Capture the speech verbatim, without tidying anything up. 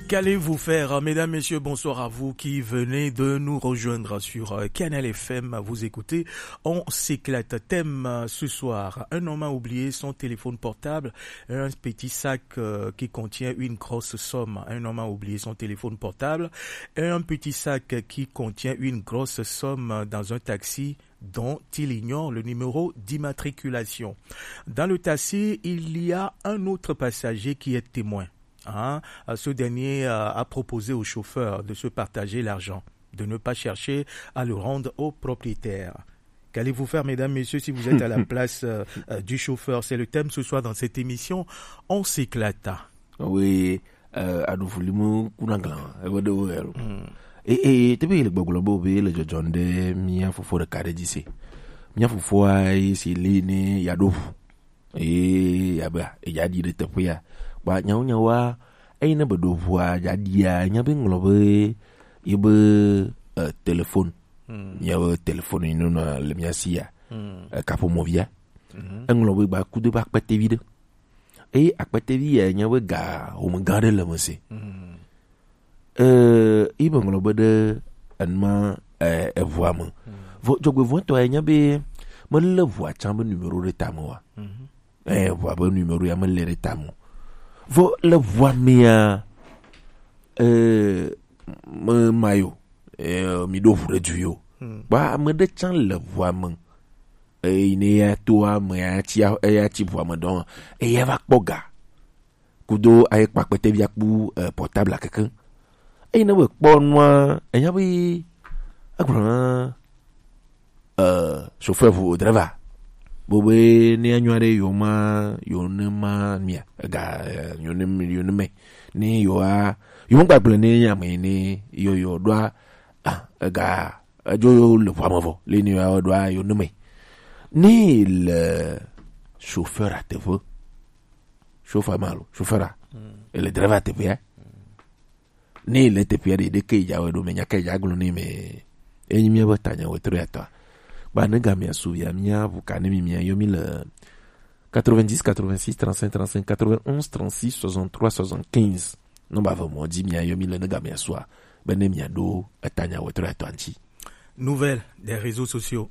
Qu'allez-vous faire, mesdames, messieurs, bonsoir à vous qui venez de nous rejoindre sur euh, Kanal F M. Vous écoutez, on s'éclate. Thème euh, ce soir, un homme a oublié son téléphone portable, un petit sac euh, qui contient une grosse somme. Un homme a oublié son téléphone portable, un petit sac qui contient une grosse somme dans un taxi dont il ignore le numéro d'immatriculation. Dans le taxi, il y a un autre passager qui est témoin. Hein, ce dernier euh, a proposé au chauffeur de se partager l'argent, de ne pas chercher à le rendre au propriétaire. Qu'allez-vous faire, mesdames, messieurs, si vous êtes à la place euh, euh, du chauffeur? C'est le thème ce soir dans cette émission. On s'éclata. Oui, euh, aɖu vuli mu kuna glan, ebe ɖe wo yɛlo. Hmm. E e tebe le gbɔgblɔ be be le dzɔdzɔm ɖe mía fofo ɖeka ɖe dzi se. Mía fofoa yi si li ne yaɖo ʋu. Eye abe edza ɖi ɖe teƒea. Ba nyawo nyawoa, eyi ne be ɖo ʋua dza ɖia, nya be ŋlɔ be yi be uh, telefon. Hmm. Mía be telefon yi nɔna le mía si ya. Hmm. Uh, kaƒomɔvia. Hmm. Eŋlɔ be gba kudo be akpetevi ɖe. Eye akpetevi ya nya be ga home gã ɖe le me se. Hmm. Eh, yi be ŋlɔ be ɖe enuma eh, eʋua me. Vɔ dzɔgbevɔ̃tɔ ya nya be mele ʋua tsã be numero ɖe tame wa. Eh, ʋua be numero ya mele ɖe tame o. Vɔ le ʋua mea, eh, me mayo, eh, mi ɖo ʋu ɖe du yo. Ba ame ɖe tsã le ʋua me. Eyi ne ya to ame ya tsi eya tsi ʋua me dɔn eya va kpɔ ga. Kudo ayi kpa kpɛtɛvia kpu eh, portable keke. Eyi ne be kpɔ nua enya be egblɔ na eh, chauffeur ʋu driver bo be ne anyo aɖe yo ma yo ne ma mia ega eh, yo ne yo ne me ne yo a yo ŋgba gblɔ ne ame ne yo yo ɖoa ah, ega edzo yo le ʋua me vɔ le ne yo ɖoa yo ne me ne le chauffeur a teƒe chauffeur ma lo chauffeur a ele driver teƒea ne le teƒea ɖe ɖeke dza wɔ ɖo me nya ke dza gblɔ ne me enyi mía be tanya wetro ya tɔa ba ne ga mia su via mía ʋu ka ne mi mia yɔ mi le quatre-vingt-dix quatre-vingt-six trente-cinq trente-cinq quatre-vingt-onze trente-six soixante-trois soixante-quinze nɔmba ve mɔ dzi mia yɔ mi le ne ga mia sua be ne mia ɖo etanya wetro ya tɔa ŋuti. Nouvelle des réseaux sociaux.